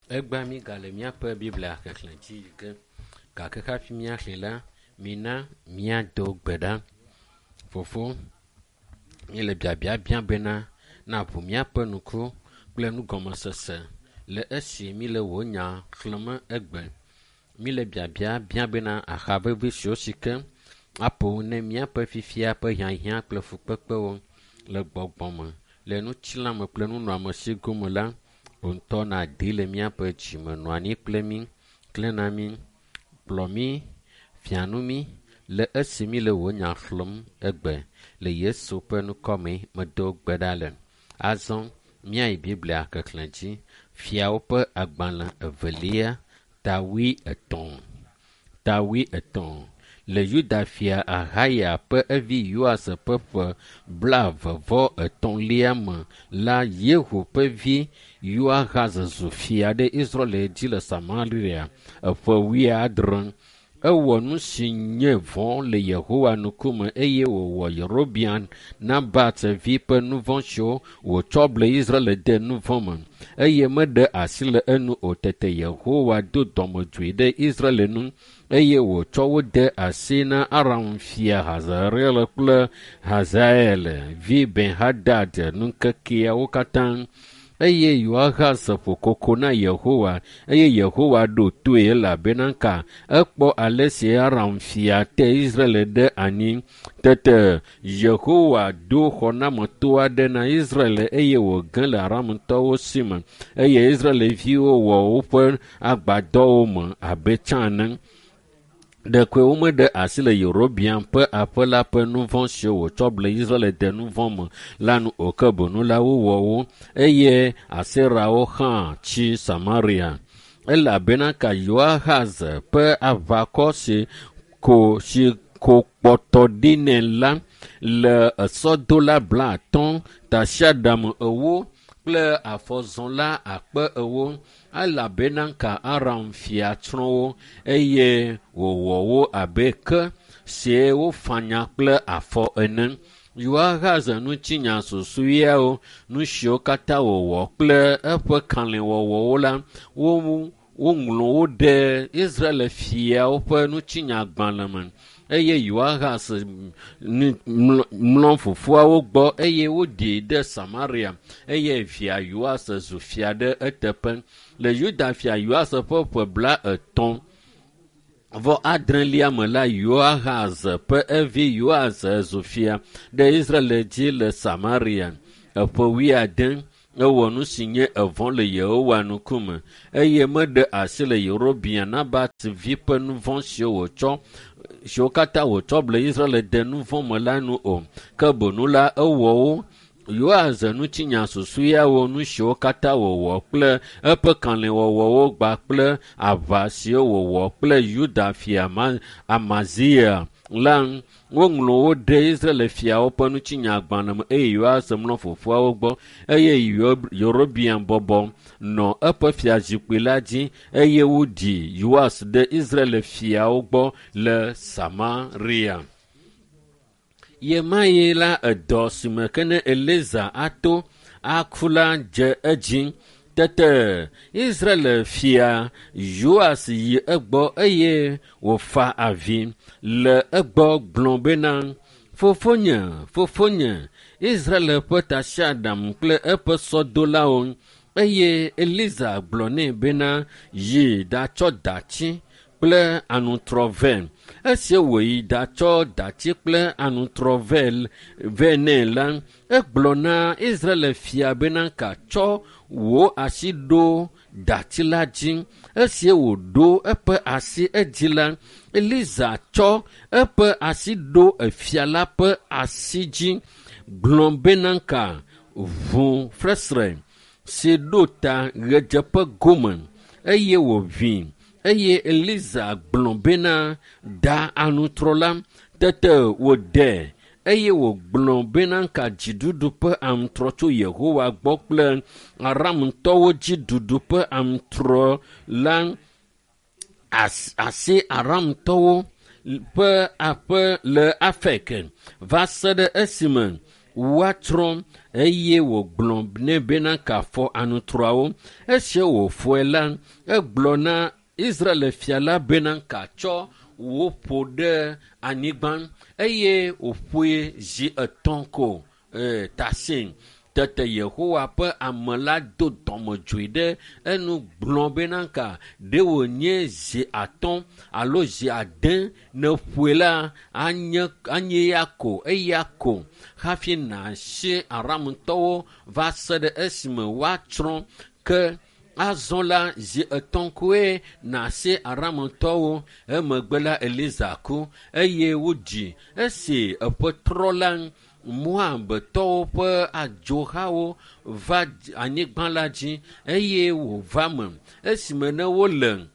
Egbea mígale míaƒe Biblia xexlẽ dzi yi ge gake hafi míaxlẽ la, mina míado gbe ɖa. Fofo, míele biabia biam bena naʋu míaƒe ŋku kple nugɔmesese le esi míle wò nya xlẽm egbe. Míle biabia biam bena aha vevi siwo si ke aƒo ne míaƒe fifia ƒe hiahiã kple fukpekpewo le gbɔgbɔ me, le ŋutilãme kple nunɔamesi gome la, wò ŋutɔ nàdi le míaƒe dzime nɔ anyi kple mí, klẽ na mí, kplɔ mí, fia nu mí le esi míle wò nya xlẽm egbe. Le Yesu ƒe ŋkɔ me medo gbe ɖa le. Azɔ míayi Biblia xexlẽ dzi. Fiawo ƒe agbalẽ evelia ta wuietɔ̃. Ta wuietɔ̃. Le Yuda fia Ahaya ƒe evi Yoas ƒe ƒe blaeve-vɔ-etɔ̃lia me la, Yehu ƒe vi Yoahaz zu fia ɖe Israel dzi le Samaria eƒe wuiadre. Ewɔ nu si nye vɔ̃ le Yehowa ŋkume eye wòwɔ Yerobeam Nabat vi ƒe nu vɔ̃ siwo wòtsɔ ble Israel de nu vɔ̃ me eye meɖe asi le enu o. Tete Yehowa do dɔmedzoe ɖe Israel ŋu eye wòtsɔ wo de asi na Aram fia Hazael kple Hazael vi Ben-Hadad ŋkekeawo katã. Eye Yoahaz ƒo koko na Yehowa eye Yehowa ɖo toe elabena ka ekpɔ ale si Aram fia te Israel ɖe anyi. Tete Yehowa do xɔnameto aɖe na Israel eye wòge le Aramtɔwo si me eye Israelviwo wɔ woƒe agbadɔwo me abe tsã ene. Ɖekoe womeɖe asi le Yerobeam ƒe aƒe la ƒe nu vɔ̃ siwo wòtsɔ ble Israel de nu vɔ̃ me la nu o ke boŋ la wowɔ wo eye Aserawo hã tsi Samaria. Elabena ka Yoahaz ƒe aʋakɔ si ko si ko kpɔtɔ ɖi nɛ la le esɔdola blaatɔ̃, tasiaɖam ewo kple afɔzɔla akpe ewo elabena ka Aram fia tsrɔ̃ wo eye wòwɔ wo abe ke sie wofanya kple afɔ ene. Yoahaz ŋutinya susɔeawo, nu siwo katã wòwɔ kple eƒe kalẽwɔwɔwo la, wo woŋlɔ wo ɖe Israel fiawo ƒe ŋutinyagbalẽ me eye Yoahaz mlɔ fofoawo gbɔ eye woɖii ɖe Samaria eye via Yoas zu fia ɖe eteƒe. Le Yuda fia Yoas ƒe ƒe blaetɔ̃ vɔ adrelia me la, Yoahaz ƒe evi Yoas zu fia ɖe Israel dzi le Samaria. Eƒe wuiade ewɔ nu si nye evɔ̃ le Yehowa ŋkume eye meɖe asi le Yerobeam Nabat vi ƒe nu vɔ̃ siwo wòtsɔ siwo katã wòtsɔ ble Israel de nu vɔ̃ me la nu o. Ke boŋ la, ewɔ wo. Yoas ŋutinya susɔeawo, nu siwo katã wòwɔ kple eƒe kalẽwɔwɔwo kpakple aʋa siwo wòwɔ kple Yuda fia Amazia la, woŋlɔ wo ɖe Israel fiawo ƒe ŋutinyagbalẽ me eye Yoas mlɔ fofoawo gbɔ eye Yerobeam bɔbɔ nɔ eƒe fiazikpui la dzi eye woɖi Yoas ɖe Israel fiawo gbɔ le Samaria. Ɣemaɣi la edɔ si me ke ne Eliza ato aku la dze edzi. Tete Israel fia Yoas yi egbɔ eye wòfa avi le egbɔ gblɔ bena, Fofonye, fofonye, Israel ƒe tasiaɖam kple eƒe sɔdolawo. Eye Eliza gblɔ nɛ bena, Yi ɖatsɔ dati kple aŋutrɔ vɛ. Esi wòyi ɖatsɔ dati kple aŋutrɔ vɛ vɛ nɛ la, egblɔ na Israel fia bena katsɔ wò asi ɖo dati la dzi. Esi wòɖo eƒe asi edzi la, Eliza tsɔ eƒe asi ɖo efia la ƒe asi dzi gblɔ bena ka ʋu fesre si ɖo ta ɣedzeƒe gome eye wòʋui eye Eliza gblɔ bena da aŋutrɔ la. Tete wòde eye wògblɔ bena ka dziɖuɖu ƒe aŋutrɔ tso Yehowa gbɔ kple Aramtɔwo dziɖuɖu ƒe aŋutrɔ la asi Aramtɔwo ƒe aƒe le Afek va se ɖe esime woatsrɔ̃. Eye wògblɔ nɛ bena kafɔ anutrɔawo. Esi wòfɔe la, egblɔ na Israel fia la bena katsɔ wò ƒo ɖe anyigba eye wòƒoe zi etɔ̃ ko tasi. Tete Yehowa ƒe ame la do dɔmedzoe ɖe enu gblɔ bena ka ɖe wònye zi atɔ̃ alo zi ade ne ƒoe la anye ya ko eya ko hafi nàsi Aramtɔwo va se ɖe esime woatsrɔ̃ ke azɔ la zi etɔ̃ koe nàsi Aramtɔwo. Emegbe la Eliza ku eye wodzi. Esi eƒe trɔ la Moabtɔwo ƒe adzohawo va anyigba la dzi eye wòva me esime ne wole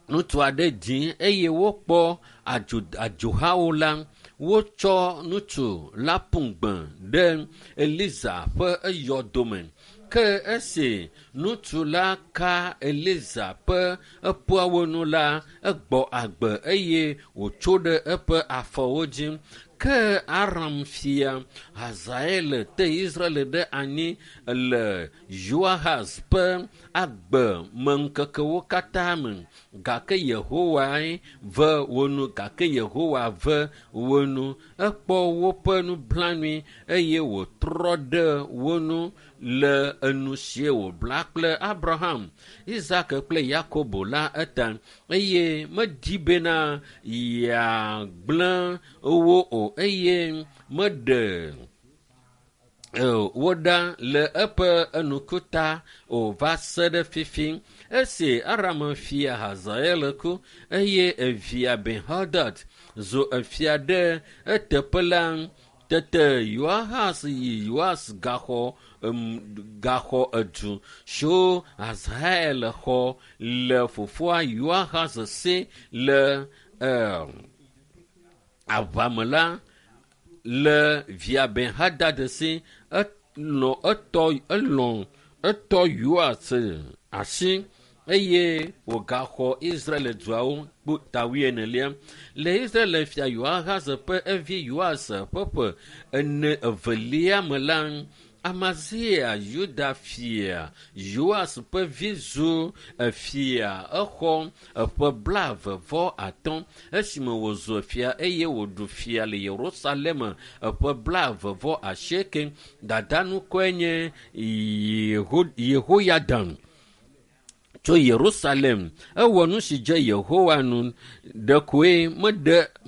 ŋutsu aɖe dzim eye wokpɔ adzohawo la, wotsɔ ŋutsu la ƒu gbe ɖe Eliza ƒe eyɔdome. Ke esi ŋutsu la ka Eliza ƒe eƒuawo nu la, egbɔ agbe eye wòtso ɖe eƒe afɔwo dzi. Ke Aram fia Hazael te Israel ɖe anyi le Yoahaz ƒe agbe me ŋkekewo katã me. Gake Yehowae ve wo nu, gake Yehowa ve wo nu. Ekpɔ woƒe nublanui eye wòtrɔ ɖe wo nu le enu si wòbla kple Abraham, Isak kple Yakobo la eta eye medi bena yeagblẽ wo o eye meɖe wo ɖa le eƒe enukuta o va se ɖe fifi. Esi Aram fia Hazael ku eye evia Ben-Hadad zu efia ɖe eteƒe la, tete Yoahaz yi Yoas gaxɔ edu siwo Hazael xɔ le fofoa Yoahaz si le aʋame la le via Ben-Hadad si etɔ Yoas asi eye wògaxɔ Israel duawo ta wuienelia. Le Israel fia Yoahaz ƒe evi Yoas ƒe ƒe ene evelia me la, Amazia Yuda fia Yoas ƒe vi zu efia. Exɔ eƒe 23 esime wòzu fia eye wòɖu fia le Yerusalem eƒe 28. Dada ŋkɔe nye Yehoyadan tso Yerusalem. Ewɔ nu si dze Yehowa nu ɖekoe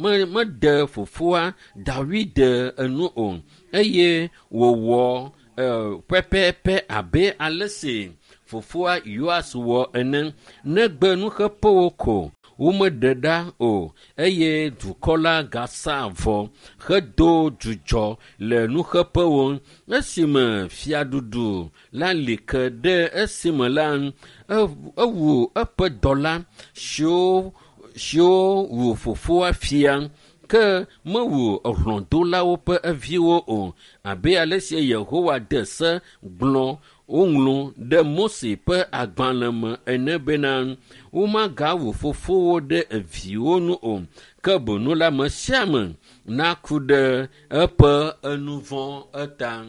meɖe fofoa Dawid enu o eye wòwɔ pɛpɛpɛ abe ale si fofoa Yoas wɔ ene. Negbe nuxeƒewo ko womeɖe ɖa o eye dukɔ la gasa avɔ hedo dzudzɔ le nuxeƒewo. Esime fiaɖuɖu la li ke ɖe esime la, ewu eƒe dɔla siwo wu fofoa fia ke mewu hlɔ̃dolawo ƒe eviwo o abe ale si Yehowa de se gblɔ woŋlɔ ɖe Mose ƒe agbalẽ me ene bena womagawu fofowo ɖe eviwo nu o ke boŋ la ame sia ame naku ɖe eƒe enuvɔ̃ eta.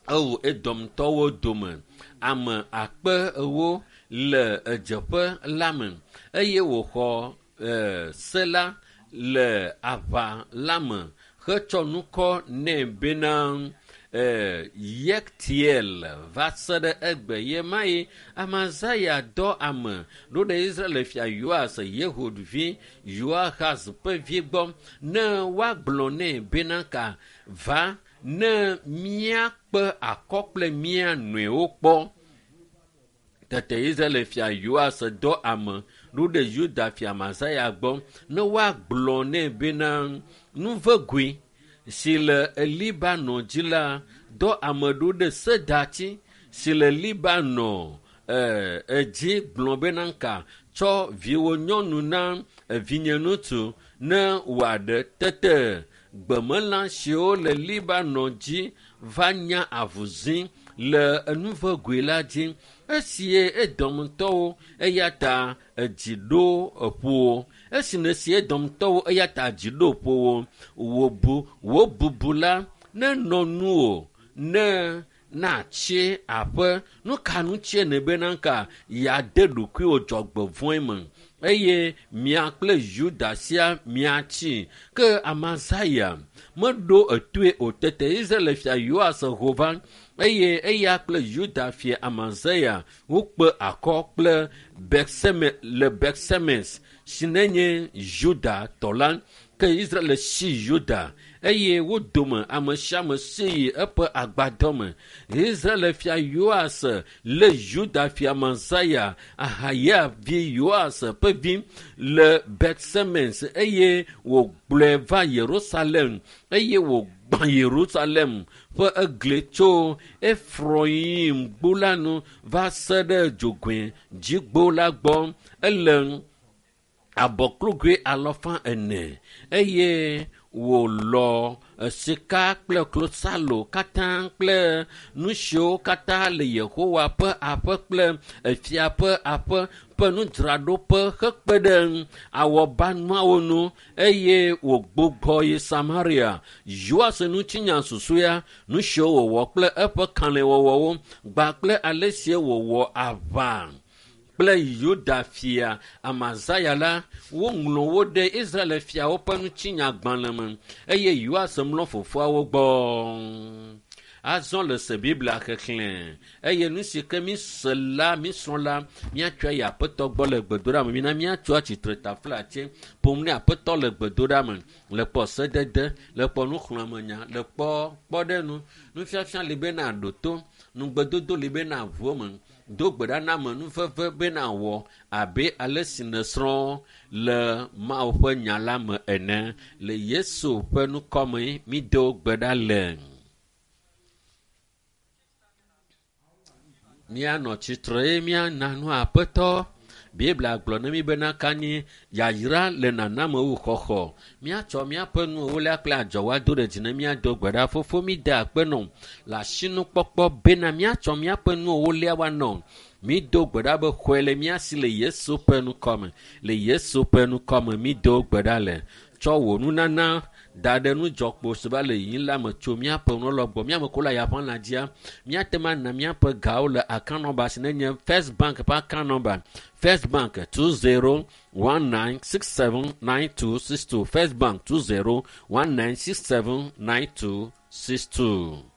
Ewu Edomtɔwo dome ame 40,000 le edzeƒe la me eye wòxɔ se la le aʋa la me hetsɔ ŋkɔ nɛ bena Yektiel va se ɖe egbe ye ma yi. Amazia dɔ ame ɖo ɖe Israel fia Yoas Yehud vi Yoahaz ƒe vi gbɔ ne woagblɔ nɛ bena ka va ne míakpe akɔ kple mía nɔewo kpɔ. Tete Israel fia Yoas dɔ ame ɖo ɖe Yuda fia Amazia gbɔ ne woagblɔ nɛ bena nuvegoe si le Libanon dzi la dɔ ame ɖo ɖe sedati si le Libanon edzi gblɔ bena ka tsɔ viwò nyɔnu na vinye ŋutsu ne wòaɖe. Tete gbemelã siwo le Libanon dzi va nya avuzi le enuvegoe la dzi. Esi Edomtɔwo eya ta edzi ɖo eƒo. Esi nesi Edomtɔwo eya ta dzi ɖo ƒo wo. Wò bubu la Nenɔ nuwò ne natsi aƒe. Nu ka ŋutie nèbena ka yeade ɖokuiwò dzɔgbevɔ̃e me eye mia kple Yuda sia miatsi? Ke Amazaya meɖo etoe o. Tete Israel fia Yoas ho va eye eya kple Yuda fia Amazaya wokpe akɔ kple Betseme le Betsemes si nenye Yuda tɔ la. Ke Israel si Yuda eye wo dome ame sia ame si yi eƒe agbadɔ me. Israel fia Yoas lé Yuda fia Amazaya, Ahaya vi Yoas ƒe vi le Betsemes eye wògblɔe va Yerusalem eye wògbã Yerusalem ƒe egli tso Efroyim gbo la nu va se ɖe dzogoe dzigbo la gbɔ. Ele abɔklugui alɔfa ene eye wòlɔ sika kple klosalo katã kple nu siwo katã le Yehowa ƒe aƒe kple efia ƒe aƒe ƒe nudzraɖoƒe hekpe ɖe awɔbanuawo ŋu eye wògbugbɔ yi Samaria. Yoas ŋutinya susɔea, nu siwo wòwɔ kple eƒe kalẽwɔwɔwo kpakple ale si wòwɔ aʋa kple Yuda fia Amazaya la, woŋlɔ wo ɖe Israel fiawo ƒe ŋutinyagbalẽ me eye Yoas mlɔ fofoawo gbɔ. Azɔ le se Biblia xexlẽ eye nu si ke míse la, mísrɔ̃ la, míatsɔe yi Aƒetɔ gbɔ le gbedoɖa me. Mina míatso atsitre taflatse ƒom ne Aƒetɔ le gbedoɖa me, le kpɔ sedede, le kpɔ nuxlɔ̃amenya, le kpɔ kpɔɖeŋu, nufiafia li bena ɖo to, nugbedodo li bena ʋu eme, do gbe ɖa na ame nuveve bena wɔ abe ale si nèsrɔ̃ le Mawu ƒe nya la me ene. Le Yesu ƒe ŋkɔme mído gbe ɖa le. Míanɔ tsitre eye míana nu Aƒetɔ. Biblia gblɔ na mí bena kanyi yayra le naname wu xɔxɔ. Míatsɔ míaƒe nuwo kple adzɔwo ado ɖe dzi ne míado gbe ɖa. Fofo míde akpe nɔ le asinukpɔkpɔ bena míatsɔ míaƒe nuwo woanɔ. Mído gbe ɖa be xɔe le mía si le Yesu ƒe ŋkɔme. Le Yesu ƒe ŋkɔme mído gbe ɖa le. Tsɔ wò nunana da ɖe nudzɔkpo si va le yiyim la me tso míaƒe nulɔ gbɔ. Míame ko le ayaƒe lã dzia, míate ŋu ana míaƒe gawo le account number si nenye First Bank ƒe account number. First Bank 2019679262. First Bank 2019679262.